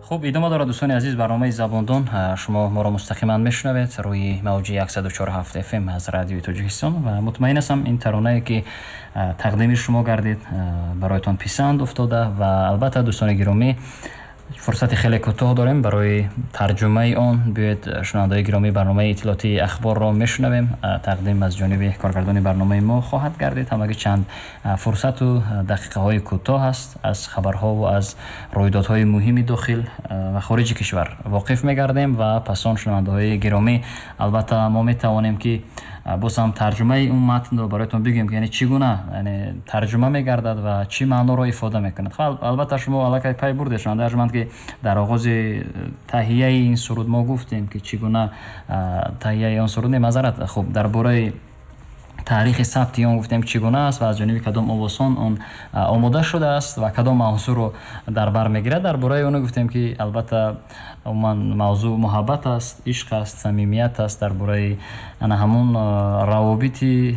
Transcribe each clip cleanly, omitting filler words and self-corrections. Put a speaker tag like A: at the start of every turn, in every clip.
A: Хуб, идома дорад, дӯстони азиз, барномаи Забондон. Шумо моро мустақиман мешунавед рӯи мавҷи 104,7 FM аз Радиои Тоҷикистон ва мутмаин ҳастам, ин таронае ки тақдими шумо гардид, бароятон писанд уфтода. Ва албатта, дӯстони гиромӣ, фурсати хеле кӯтоҳ дорем барои тарҷумаи он. Биёед, шунавандаои гиромӣ, барномаи иттилоотии ахборро мешунавем, тақдим аз ҷониби коргардони барномаи мо хоҳад гардид. Ҳамагӣ чанд фурсату дақиқаҳои кӯтоҳ аст, аз хабарҳову аз рӯйдодҳои муҳими дохил ва хориҷи кишвар воқиф мегардем. Ва пас он, шунавандаҳои гиромӣ, албатта мо метавонем ки боз ҳам тарҷумаи он матнро бароятон бигӯем, ки яъне чӣ гуна, яъне тарҷума мегардад ва чӣ маъноро ифода мекунад. Албатта, шумо аллакай пай бурдед, шунавандаи арҷманд, ки дар оғози таҳияи ин суруд мо гуфтем, ки чӣ гуна таҳияи он суруд, не, маъзарат, хуб, дар бораи таърихи сабти он гуфтем, чӣ гуна аст ва аз ҷониби кадом овозхон он омода шудааст ва кадом мавзӯъро дар бар мегирад. Дар бораи оно гуфтем, ки албатта, умуман мавзӯъ муҳаббат аст, ишқ аст, самимият аст, дар бораи ана ҳамун равобити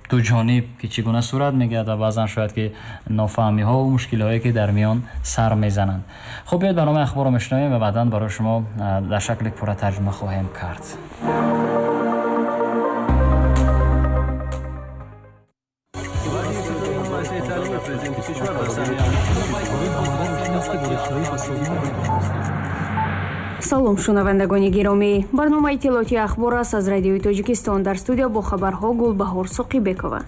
A: дуҷониб, ки чӣ гуна сурат мегирад ва баъзан шояд ки нофаҳмиҳову мушкилиҳое ки дар миён сар мезананд. Хуб, биёед, барномаи ахборро мешунавем ва баъдан барои шумо дар шакли пурра тарҷума хоҳем кард.
B: Салом, шунавандагони гиромӣ! Барномаи иттилоотии ахбор аст аз Радиои Тоҷикистон. Дар студия бо хабарҳо Гулбаҳор Соқибекова.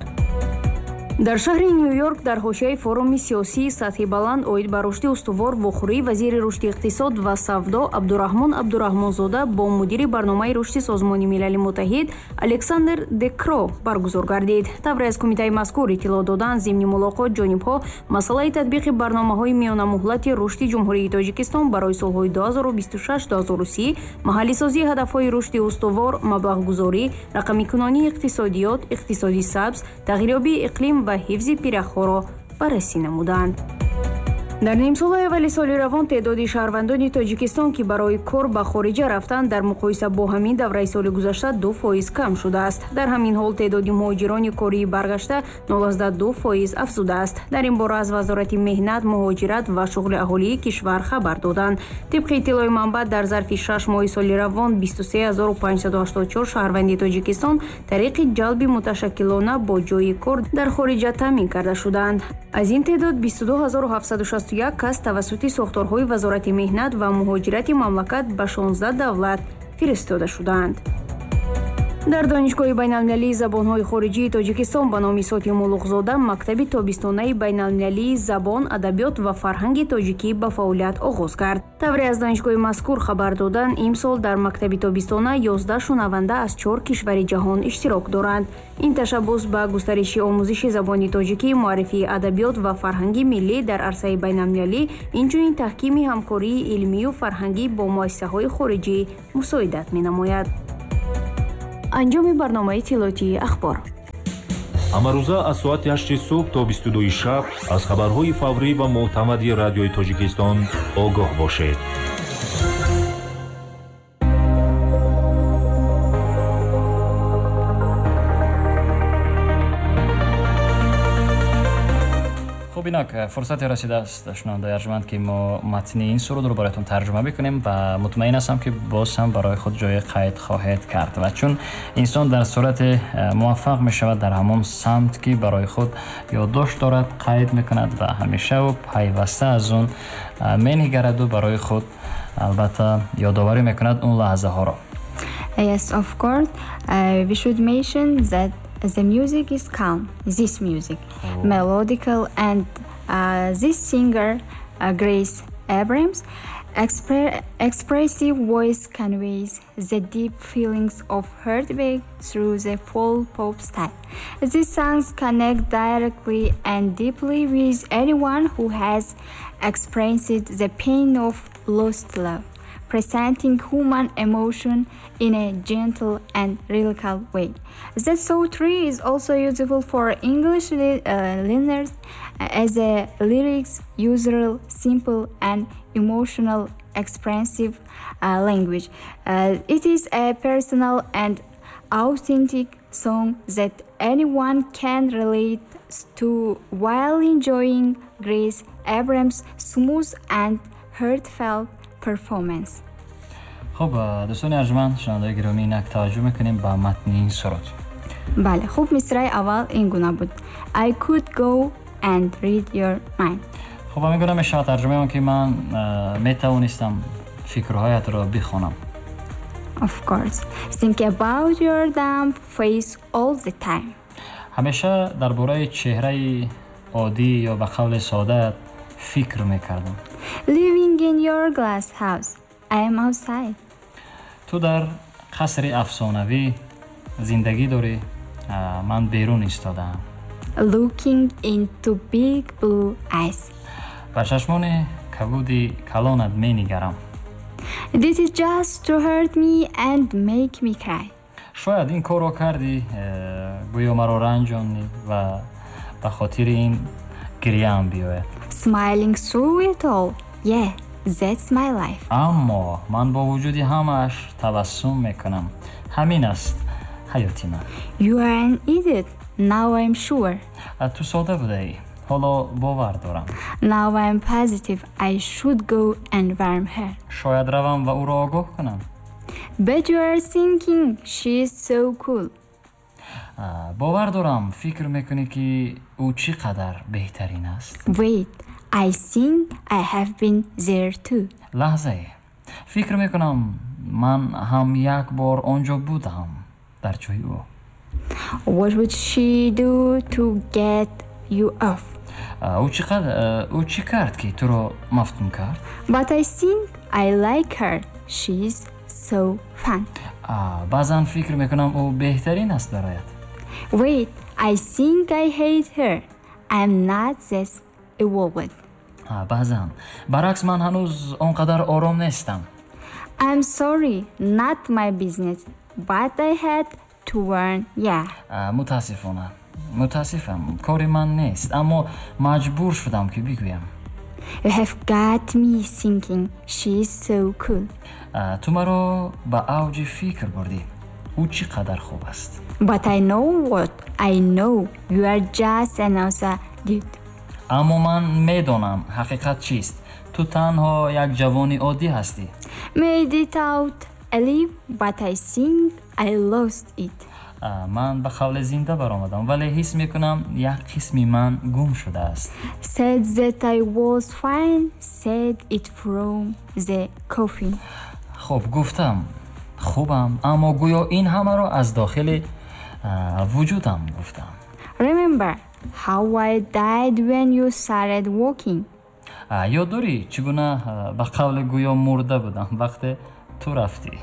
B: Дар шаҳри Ню-Йорк дар ҳошияи форуми сиёсии сатҳи баланд оид ба рушди устувор вохӯрии вазири рушди иқтисод ва савдо Абдураҳмон Абдураҳмонзода бо мудири барномаи рушди Созмони Милали Муттаҳид Александр Декро баргузор гардид. Тавре аз кумитаи мазкур иттилоъ доданд, зимни мулоқот ҷонибҳо масъалаи татбиқи барномаҳои миёнамуҳлати рушди Ҷумҳурии Тоҷикистон барои солҳои 2026-2030, маҳаллисозии ҳадафҳои рушди устувор, маблағгузорӣ, рақамикунонии иқтисодиёт, иқтисоди сабз, тағйирёбии иқлим ва ҳифзи пиряхҳоро баррасӣ намуданд. Дар нимсолаи аввали соли равон теъдоди шаҳрвандони Тоҷикистон, ки барои кор ба хориҷа рафтанд, дар муқоиса бо ҳамин давраи соли гузашта 2% кам шудааст. Дар ҳамин ҳол теъдоди муҳоҷирони кории баргашта 0,2% афзудааст. Дар ин бора аз Вазорати меҳнат, муҳоҷират ва шуғли аҳолии кишвар хабар доданд. Тибқи иттилои манбаъ, дар зарфи 6 моҳи соли равон 23 584 шаҳрванди Тоҷикистон тариқи ҷалби муташаккилона бо ҷойи кор дар хориҷа таъмин карда шуданд. Аз ин теъдод 22 761 кас тавассути сохторҳои Вазорати меҳнат ва муҳоҷирати мамлакат ба 16 давлат фиристода шуданд. Дар Донишгоҳи байналмилалии забонҳои хориҷии Тоҷикистон ба номи Сотим Улуғзода мактаби тобистонаи байналмилалии забон, адабиёт ва фарҳанги тоҷикӣ ба фаъолият оғоз кард. Тавре аз донишгоҳи мазкур хабар доданд, имсол дар мактаби тобистона 11 шунаванда аз чор кишвари ҷаҳон иштирок доранд. Ин ташаббус ба густариши омӯзиши забони тоҷикӣ, муаррифии адабиёт ва фарҳанги миллӣ дар арсаи байналмилалӣ, инчунин таҳкими ҳамкории илмию фарҳангӣ бо муассисаҳои хориҷӣ мусоидат менамояд. Анҷоми барномаи иттилоотии ахбор.
C: Ҳамарӯза аз соати 8 субҳ то 22 шаб аз хабарҳои фаврӣ ва мӯътамади Радиои Тоҷикистон огоҳ бошед.
A: Хуб, инак фурсате расидааст, шунавандаи арҷманд, ки мо матни ин сурудро бароятон тарҷума бикунем ва мутмаин ҳастам, ки боз ҳам барои худ ҷои қайд хоҳед кард. Ва чун инсон дар сурате муваффақ мешавад дар ҳамон самт, ки барои худ ёддошт дорад, қайд мекунад ва ҳамешаву пайваста аз он менигараду барои худ албатта ёдоварӣ мекунад он лаҳзаҳоро.
D: Yes, of course. We should mention that the music is calm. This music, melodical, and this singer, Grace Abrams, expressive voice conveys the deep feelings of heartbreak through the folk pop style. These songs connect directly and deeply with anyone who has experienced the pain of lost love, presenting human emotion in a gentle and lyrical way. The So 3 is also useful for English learners as the lyrics use simple and emotional expressive language. It is a personal and authentic song that anyone can relate to while enjoying Grace Abrams' smooth and heartfelt performance.
A: Хуб, дӯстони арҷманд, шунавандаои гиромӣ, инак таваҷҷӯҳ мекунем ба матни ин суруд.
D: Бале, хуб, мисраи аввал ин гуна буд: I could go and read your mind.
A: Хуб, ҳамин гуна мешавад тарҷумаи он, ки ман метавонистам фикрҳоятро бихонам.
D: Of course. Think about your dumb face all the time.
A: Ҳамеша дар бораи чеҳраи оддӣ ё ба қавли содаат фикр мекардам.
D: Living in your glass house, I am outside.
A: Ту дар қасри афсонавӣ зиндагӣ дорӣ, ман берун истодаам.
D: Looking into big blue eyes.
A: Ба чашмони кабуди калонат менигарам.
D: This is just to hurt me and make me cry.
A: Шояд ин корро кардӣ, гӯё маро ранҷонӣ ва ба хотири ин гиряам биёяд.
D: Smiling through it all. Yeah, that's my life.
A: Аммо ман бо вуҷуди ҳамааш табассум мекунам. Ҳамин аст ҳаёти ман.
D: You are an idiot. Now I'm sure.
A: Ту сода будаӣ, ҳоло бовар дорам.
D: Now I'm positive I should go and warn her.
A: Шояд равам ва ӯро огоҳ кунам.
D: But you are thinking she's so cool.
A: Бовар дорам, фикр мекунӣ, ки ӯ чӣ қадар беҳтарин аст.
D: Wait, I think I have been there too.
A: Лаҳзае, фикр мекунам, ман ҳам як бор он ҷо будам, дар ҷои ӯ.
D: What would she do to get you off?
A: Ӯ чӣ кард, ки туро мафтун кард?
D: But I think I like her. She's so fun.
A: Баъзан фикр мекунам, ӯ беҳтарин аст бароят.
D: Wait, I think I hate her. I'm not that evolved.
A: Баъзан баръакс, ман ҳанӯз он қадар ором нестам.
D: I'm sorry, not my business, but I had to warn ya.
A: Мутаассифона, мутаассифам, кори ман нест, аммо маҷбур шудам, ки бигӯям.
D: You have got me thinking she's so cool.
A: Ту маро ба авҷи фикр бурдӣ, ӯ чӣ қадар хуб аст.
D: But I know what I know. You are just another dude.
A: Аммо ман медонам ҳақиқат чист: ту танҳо як ҷавони оддӣ ҳастӣ.
D: Made it out alive, but I think I lost it.
A: Ман ба қавле зинда баромадам, вале ҳис мекунам, як қисми ман гум шудааст.
D: Said that I was fine, said it from the coffin.
A: Хуб, гуфтам хубам, аммо гӯё ин ҳамаро аз дохили вуҷудам гуфтам.
D: Remember how I died when you started walking.
A: Ёд дорӣ, чӣ гуна ба қавле гӯё мурда будам, вақте ту рафтӣ?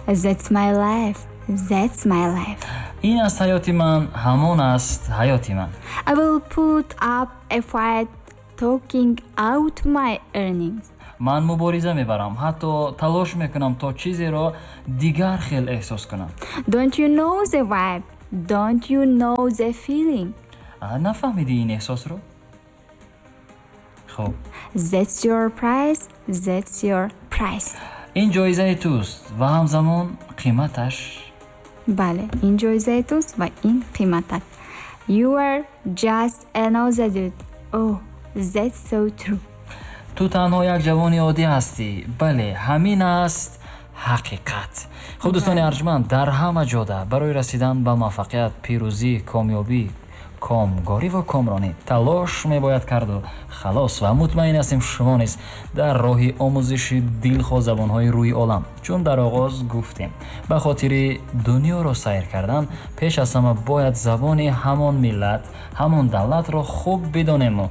D: That's my life. That's my life.
A: Ин аст ҳаёти ман, ҳамон аст ҳаёти ман.
D: I will put up a fight talking out my earnings.
A: Ман мубориза мебарам, ҳатто талош мекунам, то чизеро дигар хел эҳсос кунам.
D: Don't you know the vibe? Don't you know the feeling?
A: Нафаҳмидӣ ин эҳсосро? Хуб.
D: That's your price. That's your price.
A: Ин ҷоизаи туст ва ҳамзамон қиматаш.
D: Бале, ин ҷоизаи туст ва ин қиматат. You are just another dude. Oh, that's so true.
A: Ту танҳо як ҷавони оддӣ ҳастӣ. Бале, ҳамин аст ҳақиқат. Хуб, дӯстони арҷманд, дар ҳама ҷода барои расидан ба муваффақият, пирӯзӣ, комёбӣ, комгорӣ ва комронӣ талош мебояд карду халос. Ва мутмаин ҳастем, шумо низ дар роҳи омӯзиши дилхоҳ забонҳои рӯи олам, чун дар оғоз гуфтем, ба хотири дунёро сайр кардан пеш аз ҳама бояд забони ҳамон миллат, ҳамон давлатро хуб бидонему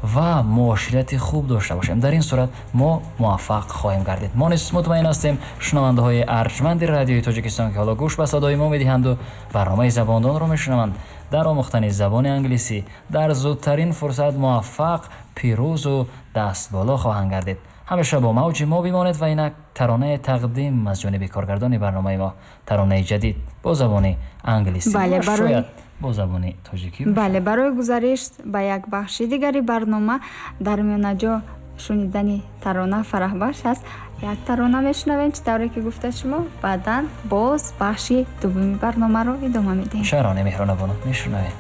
A: ва муоширати хуб дошта бошем. Дар ин сурат мо муваффақ хоҳем гардид. Мо низ мутмаин ҳастем, шунавандаҳои арҷманди Радиои Тоҷикистон, ки ҳоло гӯш ба садои мо медиҳанду барномаи Забондонро мешунаванд, дар омӯхтани забони англисӣ дар зудтарин фурсат муваффақ, пирӯзу дастболо хоҳанд гардид. Ҳамеша бо мавҷи мо бимонед ва инак таронае тақдим аз ҷониби коргардони барномаи мо, таронаи ҷадид бо забони англисӣ ва шояд бо забони тоҷикӣ.
D: Бале, барои гузариш ба як бахши дигари барнома дар миёнаҷо шунидани тарона фараҳбахш аст. Як тарона мешунавем, чӣ тавре ки гуфта шумо, баъдан боз бахши дуввуми барномаро идома медиҳем.
A: Чаро не, Меҳрона бону, мешунавем.